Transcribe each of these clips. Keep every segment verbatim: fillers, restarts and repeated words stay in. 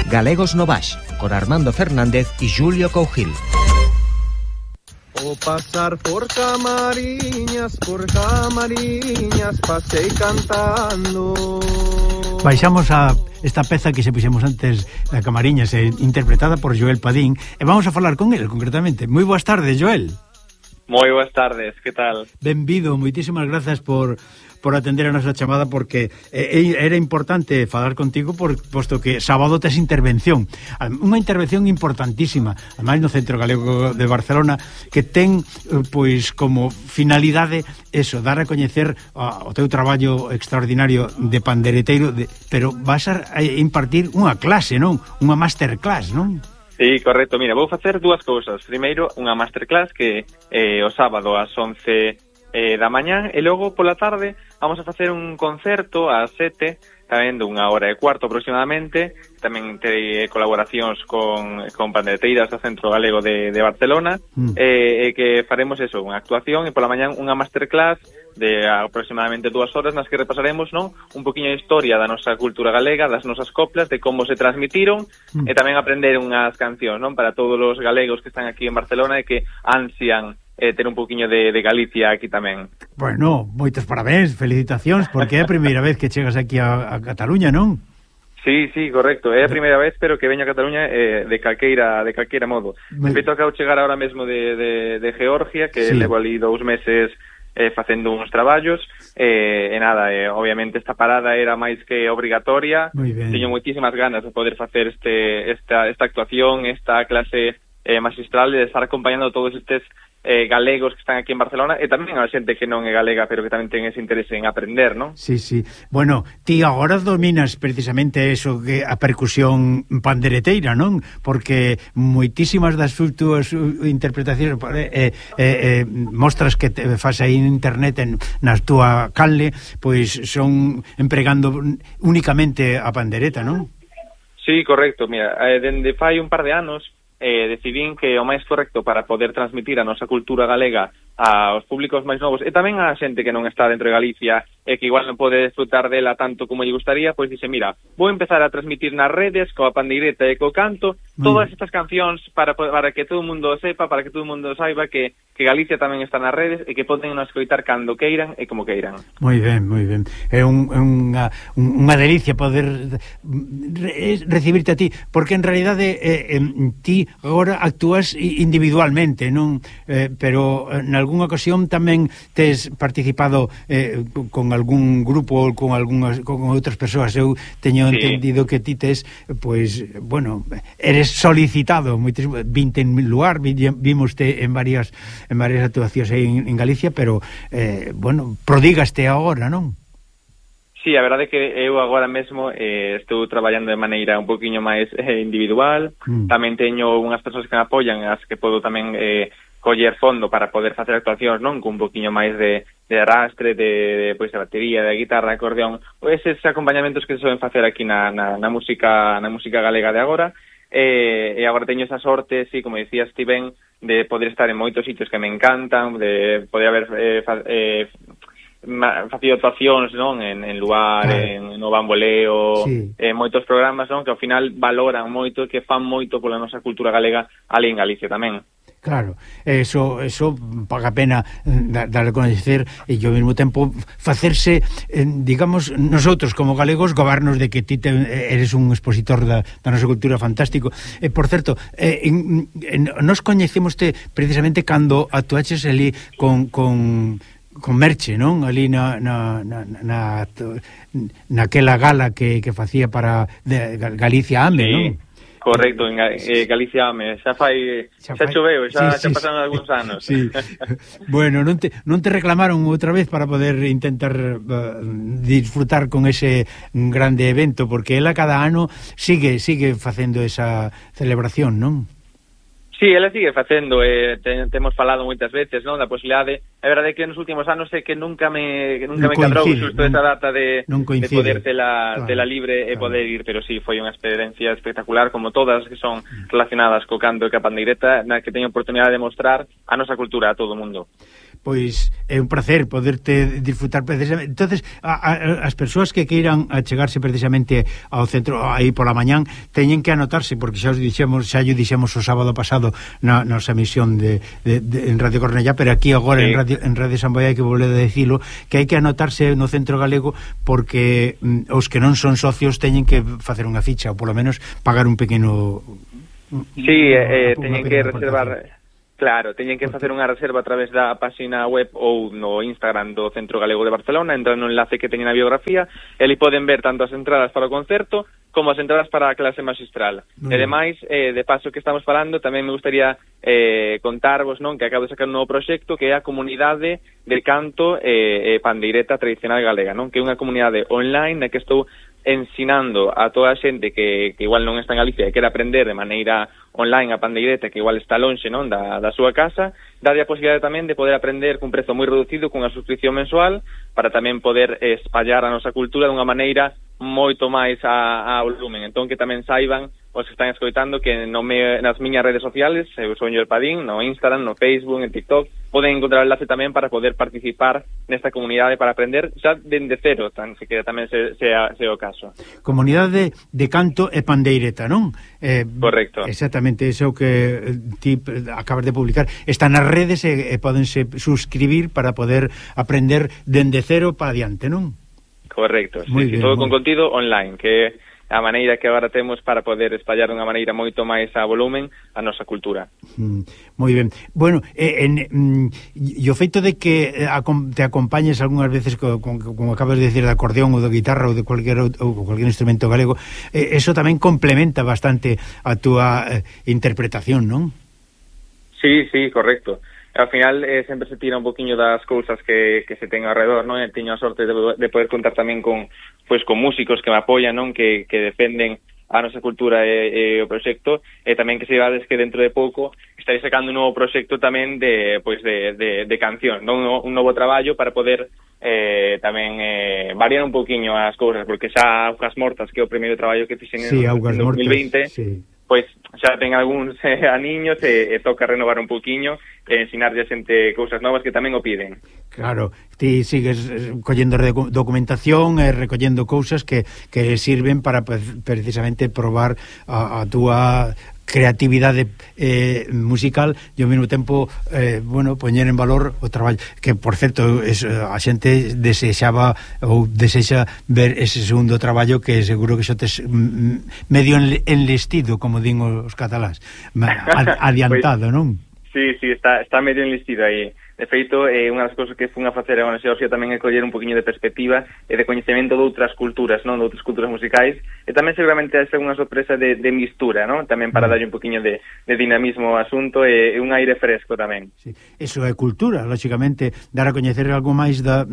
Galegos no Baix, con Armando Fernández e Julio Cougil. O pasar por Camariñas, por Camariñas, pasei cantando. Baixamos a esta peza que se puxemos antes da Camariñas, eh, interpretada por Joel Padín, e vamos a falar con ele concretamente. Moi boas tardes, Joel. Moi boas tardes, que tal? Benvido, moitísimas grazas por por atender a nosa chamada, porque eh, era importante falar contigo por, posto que sábado tes intervención, unha intervención importantísima, ademais no Centro Galego de Barcelona, que ten pois como finalidade eso, dar a coñecer uh, o teu traballo extraordinario de pandereteiro, de, pero vas a impartir unha clase, non? Unha masterclass, non? Sí, correcto. Mira, vou facer dúas cousas. Primeiro, unha masterclass que eh, o sábado ás once eh, da mañán, e logo pola tarde vamos a facer un concerto ás sete, tamén de unha hora e cuarto aproximadamente. Tamén terei colaboracións con, con pandereteiras do Centro Galego de, de Barcelona, mm. e eh, que faremos eso, unha actuación, e pola mañán unha masterclass de aproximadamente dúas horas nas que repasaremos, non, un poquinho de historia da nosa cultura galega, das nosas coplas, de como se transmitiron, mm. e tamén aprender unhas cancións, non, para todos os galegos que están aquí en Barcelona e que ansian eh, ter un poquinho de, de Galicia aquí tamén. Bueno, moitos parabéns, felicitacións, porque é a primeira vez que chegas aquí a, a Cataluña, non? Sí, sí, correcto. É a primeira vez, pero que veño a Cataluña eh, de calqueira de calqueira modo. Me feito acabo chegar ahora mesmo de, de, de Georgia, que sí. Levo ali dous meses eh, facendo uns traballos, eh, e nada, eh, obviamente esta parada era máis que obrigatoria. Teño moitísimas ganas de poder facer este esta, esta actuación, esta clase eh, magistral, de estar acompañando todos estes Eh, galegos que están aquí en Barcelona, e tamén a xente que non é galega pero que tamén ten ese interese en aprender, non? Sí, sí. Bueno, ti agora dominas precisamente eso, que a percusión pandereteira, non? Porque moitísimas das túas interpretacións eh, eh, eh, mostras que te faz aí en internet en, na túa canle, pois son empregando únicamente a pandereta, non? Sí, correcto. Mira, eh, dende fai un par de anos Eh, decidín que o máis correcto para poder transmitir a nosa cultura galega aos públicos máis novos, e tamén a xente que non está dentro de Galicia e que igual non pode disfrutar dela tanto como lle gustaría, pois dice, mira, vou empezar a transmitir nas redes coa pandeireta e co canto todas estas cancións para, para que todo o mundo sepa, para que todo o mundo saiba que, que Galicia tamén está nas redes e que poden nos escoitar cando queiran e como queiran. Moi ben, moi ben. É un, unha, unha delicia poder re, recibirte a ti, porque en realidade eh, eh, ti agora actúas individualmente, non? Eh, pero en algunha ocasión tamén tes participado eh, con algún grupo ou con algunhas con outras persoas. Eu teño sí. entendido que ti tes, pois, bueno, eres solicitado, vinte en lugar, vimos te en varias en varias actuacións aí en, en Galicia, pero eh, bueno, prodígaste agora, non? Sí, a verdade é que eu agora mesmo eh, estou traballando de maneira un poquinho máis eh, individual, mm. tamén teño unhas persoas que me apoian, as que podo tamén eh, coller fondo para poder facer actuacións, non, con un poquinho máis de, de arrastre, de, de, pois, de batería, de guitarra, de acordeón, eses acompañamentos que se soben facer aquí na, na, na música na música galega de agora, e, e agora teño esa sorte, sí, como dicías ti ben, de poder estar en moitos sitios que me encantan, de poder haber eh, fa, eh, facido actuacións, non, en, en Luar, claro. en No Bamboleo, sí. en moitos programas, non, que ao final valoran moito, que fan moito pola nosa cultura galega ali en Galicia tamén. Claro, eso eso paga pena dar a conocer e ao mesmo tempo facerse, eh, digamos, nosotros como galegos gobernos de que ti te, eres un expositor da, da nosa cultura fantástico. E, eh, por certo, eh, en, en, nos coñecémoste precisamente cando actuaches ali con... con con Merche, non? Ali na na na na naquela gala que que facía para de Galicia Ame, sí. non? Correcto, en eh, Galicia Ame, xa fai xa, xa choveu, xa, sí, xa sí, pasaron sí. algúns anos. Sí. Bueno, non te non te reclamaron outra vez para poder intentar uh, disfrutar con ese grande evento, porque ela cada ano sigue sigue facendo esa celebración, non? Sí, ela sigue facendo, eh, te, temos falado moitas veces, non, da posibilidade. É verdade que nos últimos anos é que nunca me que nunca non me cadrou xusto esa data de, de poder tela, claro, tela libre e claro. poder ir, pero sí, foi unha experiencia espectacular, como todas que son relacionadas co canto e ca pandeireta, na que teño oportunidade de mostrar a nosa cultura a todo o mundo. pois é un placer poderte disfrutar precisamente. Entonces, a, a, as persoas que queiran achegarse precisamente ao centro aí pola mañán, teñen que anotarse, porque xa os dixemos, xa lle dixemos o sábado pasado na nosa emisión de, de, de en Radio Cornellá, pero aquí agora sí. en Radio en Radio San Boi hai que volver a dicilo, que hai que anotarse no Centro Galego, porque mm, os que non son socios teñen que facer unha ficha, ou polo menos pagar un pequeno. Sí, eh, teñen que reservar. Claro, teñen que facer unha reserva a través da página web ou no Instagram do Centro Galego de Barcelona, entran no enlace que teñen na biografía, e ali poden ver tanto as entradas para o concerto como as entradas para a clase magistral. Mm. E demais, eh, de paso que estamos falando, tamén me gustaría eh, contarvos, non, que acabo de sacar un novo proxecto que é a Comunidade de Canto e eh, Pandeireta Tradicional Galega, non, que é unha comunidade online na que estou ensinando a toda a xente que, que igual non está en Galicia e quere aprender de maneira online a pandeireta, que igual está lonxe, non, da, da súa casa, darlle a posibilidade tamén de poder aprender cun prezo moi reducido, cunha suscripción mensual, para tamén poder espallar a nosa cultura dunha maneira moito máis a, a volumen. Entón, que tamén saiban os que están escoitando que no me, nas miñas redes sociales, eu sou Joel Padín, no Instagram, no Facebook, en TikTok, poden encontrar o enlace tamén para poder participar nesta comunidade para aprender xa dende cero, tan se que tamén se, sea, sea o caso. Comunidade de Canto e Pandeireta, non? Eh, Correcto. Exactamente, iso que ti acabas de publicar. Está nas redes e, e podense suscribir para poder aprender dende cero para adiante, non? Correcto, sí, bien, todo con contido online, que a maneira que agora temos para poder espallar dunha maneira moito máis a volumen a nosa cultura. Mm, moi ben. Bueno, eh, en, mm, e o feito de que te acompañes algunhas veces co, con, como acabas de decir, de acordeón ou de guitarra ou de cualquier, ou cualquier instrumento galego, eh, eso tamén complementa bastante a túa eh, interpretación, non? Sí, sí, correcto. Ao final eh, sempre se tira un poquinho das cousas que, que se ten alrededor, non? E teño a sorte de, de poder contar tamén con pois con músicos que me apoian, non? Que, que defenden a nosa cultura e, e o proxecto, e tamén que se vades que dentro de pouco estarei sacando un novo proxecto tamén de pois de, de, de canción, non? Un novo traballo para poder eh, tamén eh, variar un poquinho as cousas, porque xa Augas Mortas, que é o primeiro traballo que fixen sí, en dos mil veinte, sí. Pois xa ten algúns eh, aniños e, e toca renovar un poquinho e ensinarlle a xente cousas novas que tamén o piden. Claro, ti sigues collendo documentación e recollendo cousas que, que sirven para precisamente probar a, a túa creatividade eh, musical e ao mesmo tempo eh, bueno, poñer en valor o traballo que, por certo, es, a xente desexaba ou desexa ver ese segundo traballo que seguro que xo tes medio enlistido, como din os catalás, adiantado, pues, non? Sí, sí, está, está medio enlistido aí. De feito, eh, unha das cousas que fun a facer agora na Xeorxia tamén é coller un poquinho de perspectiva e de coñecemento de outras culturas, non? De outras culturas musicais, e tamén seguramente é unha sorpresa de, de mistura, non? Tamén para darlle un poquinho de, de dinamismo ao asunto e, e un aire fresco tamén. Sí. Eso é cultura, lógicamente, dar a coñecer algo máis da,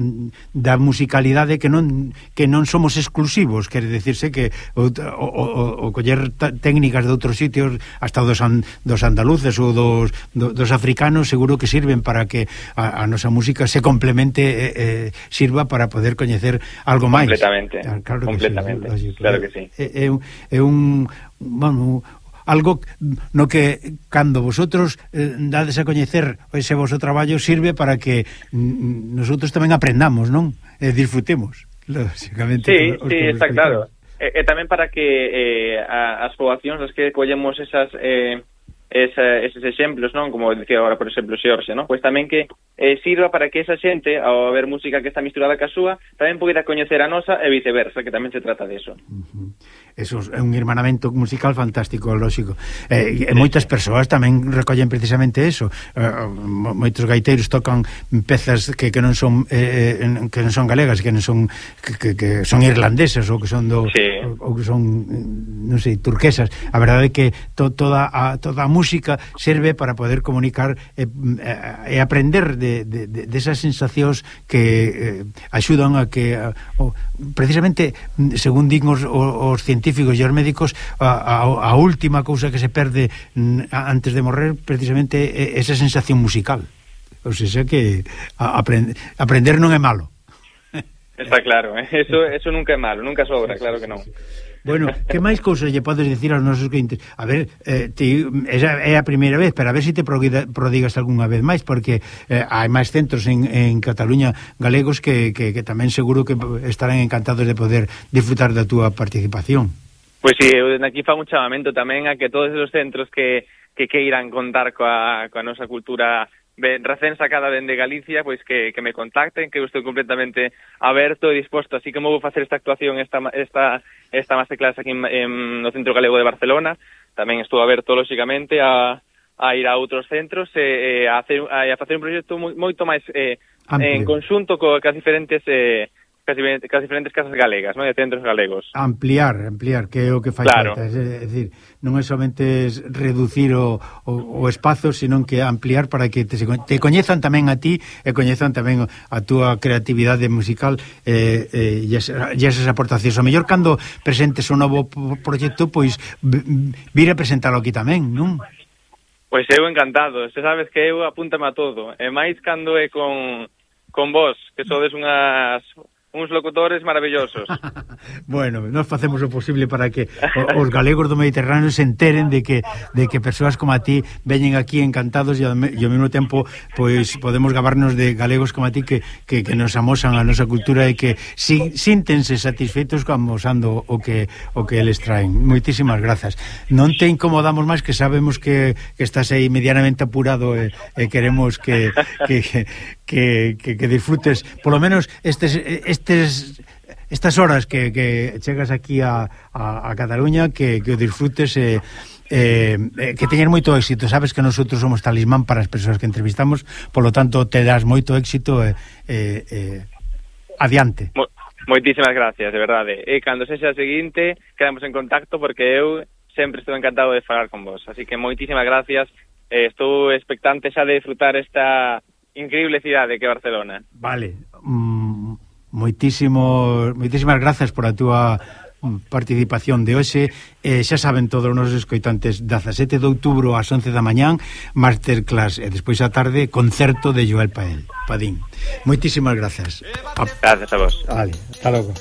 da musicalidade que non que non somos exclusivos, quere decirse que o, o, o, o coller técnicas de outros sitios, hasta dos, an, dos andaluces ou dos, do, dos africanos, seguro que sirven para que A, a nosa música se complemente e eh, eh, sirva para poder coñecer algo máis. Completamente, claro, claro completamente, que sí, claro que sí. É, é, é un, bueno, algo no que cando vosotros eh, dades a coñecer ese vosso traballo sirve para que mm, nosotros tamén aprendamos, non? E disfrutemos, lógicamente. Sí, sí, está claro. E, e tamén para que eh, a, as poboacións as que collemos esas... Eh, Esa, eses exemplos, non? Como decía agora, por exemplo, Xeorxia, non? Pois tamén que eh, sirva para que esa xente, ao ver música que está misturada ca súa, tamén poida coñecer a nosa e viceversa, que tamén se trata de eso. Uh-huh. Eso é un hermanamento musical fantástico, lógico. Eh, e moitas persoas tamén recollen precisamente eso. Eh, moitos gaiteiros tocan pezas que, que non son eh, que non son galegas, que non son que, que son irlandeses ou que son do sí. ou, ou que son non sei, turquesas. A verdade é que to, toda a toda a música serve para poder comunicar e, e aprender de, de, de, de esas sensacións que eh, axudan a que a, o, precisamente, según din os, os científicos e os médicos, a, a, a última cousa que se perde antes de morrer precisamente é esa sensación musical. O sea que a, aprend, aprender non é malo. Está claro, ¿eh? eso, eso nunca é malo, nunca sobra, claro que non. Bueno, que máis cousas lle podes dicir aos nosos clientes? A ver, eh, ti, esa é a primeira vez, pero a ver se si te prodigas algunha vez máis, porque eh, hai máis centros en, en Cataluña galegos que, que, que tamén seguro que estarán encantados de poder disfrutar da túa participación. Pois si, eu aquí fago un chamamento tamén a que todos os centros que, que queiran contar coa, coa nosa cultura recén sacada dende Galicia, pois que, que me contacten, que eu estou completamente aberto e disposto, así como vou facer esta actuación, esta esta esta masterclass aquí en, en, no Centro Galego de Barcelona, tamén estou aberto, lóxicamente, a, a ir a outros centros e, e a, hacer, a, a facer un proxecto moito máis eh, en conxunto co, cas diferentes... Eh, Casi, casi diferentes casas galegas, ¿no? De centros galegos. Ampliar, ampliar, que é o que fai claro. falta. É dicir, non é somente reducir o, o, o espazo, sino que ampliar para que te, te coñezan tamén a ti e coñezan tamén a túa creatividade musical eh, eh, e, esas, e esas aportacións. O mellor cando presentes un novo proxecto, pois vir a presentalo aquí tamén, non? Pois eu encantado. Se sabes que eu apúntame a todo. E máis cando é con, con vos, que sodes unhas... uns locutores maravillosos. Bueno, nós facemos o posible para que os galegos do Mediterráneo se enteren de que de que persoas como a ti veñen aquí encantados e ao, e ao mesmo tempo pois podemos gabarnos de galegos como a ti que, que, que nos amosan a nosa cultura e que si, síntense satisfeitos amosando o que o que eles traen. Moitísimas grazas. Non te incomodamos máis, que sabemos que, que estás aí medianamente apurado e, e queremos que que, que, que, que disfrutes polo menos estes, estes estas horas que, que chegas aquí a, a, a Cataluña, que, que o disfrutes e eh, eh, que teñen moito éxito. Sabes que nosotros somos talismán para as persoas que entrevistamos, polo tanto te das moito éxito e eh, eh, adiante. Mo Moitísimas gracias, de verdade. E cando sexa a seguinte, quedamos en contacto, porque eu sempre estou encantado de falar con vos. Así que moitísimas gracias. Eh, estou expectante xa de disfrutar esta increíble cidade que é Barcelona. Vale. Mm, moitísimo, moitísimas grazas por a túa participación de hoxe. Eh, xa saben todos os nosos escoitantes, dezasete de outubro ás once da mañán, masterclass, e despois á tarde concerto de Joel Pael, Padín. Moitísimas grazas. Gracias a vos. Vale, hasta logo.